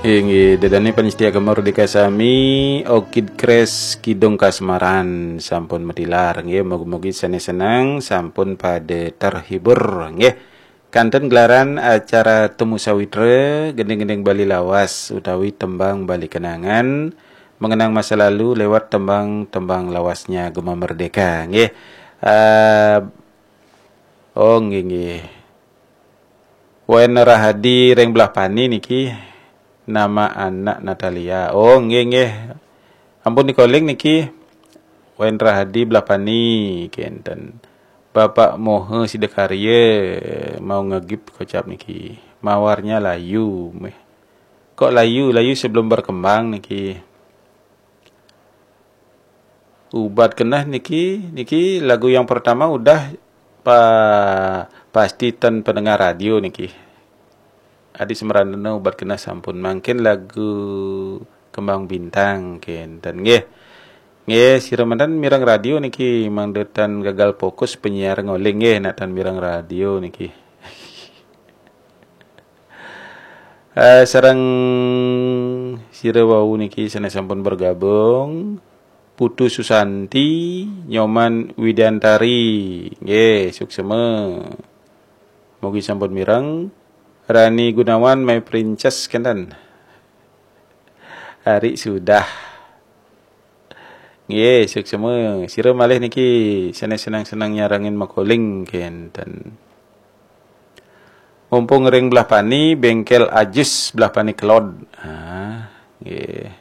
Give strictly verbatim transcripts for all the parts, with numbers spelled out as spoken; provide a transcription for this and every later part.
Inggih, ida dané pamiarsa Gema Merdeka sami, Orchid Craze Kidung Kasmaran sampun matilar. Inggih, mugi-mugi sané seneng, sampun pada terhibur. Inggih. Kanten gelaran acara Temu Sawitra, gending-gending Bali Lawas utawi tembang Bali Kenangan, mengenang masa lalu lewat tembang-tembang lawasnya Gema Merdeka. Inggih. Eh, oh, inggih, inggih. Wen Rahadi ring Belah Pani niki, nama anak Natalia. Oh, inggih, inggih. Ampun dikoling niki. Wen Rahadi Belah Pani, kenten. Bapak Mohe Sidakarya mau ngegip kocap niki. Mawarnya layu, meh. Kok layu, layu sebelum berkembang niki. Ubat Keneh niki, niki lagu yang pertama udah pa-, pasti ten pendengar radio niki. Adi Semerandena Ubat Keneh sampun, mangkin lagu Kembang Bintang kenten nggih. Nggih, sira manten mireng radio niki, mangda tan gagal fokus penyiar ngoling nggih, nak tan mireng radio niki. Eh, sareng sira wau niki sané sampun bergabung, Putu Susanti, Nyoman Widiantari. Nggih, suksema. Mugi sampun mireng. Rani Gunawan, My Princess, kenten. Ari sudah. Nggih, suksema. Sira malih niki sané seneng-seneng nyarengin makoling kenten. Mumpung ring Belah Pani, bengkel Ajis Belah Pani Kelod. Ah, nggih.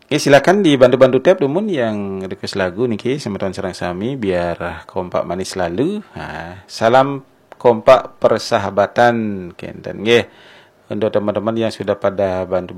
Nggih, silakan dibantu-bantu tap dumun yang request lagu niki, semeton sareng sami biar kompak manis selalu. Ah, salam kompak persahabatan kenten nggih. Untuk teman-teman yang sudah pada bantu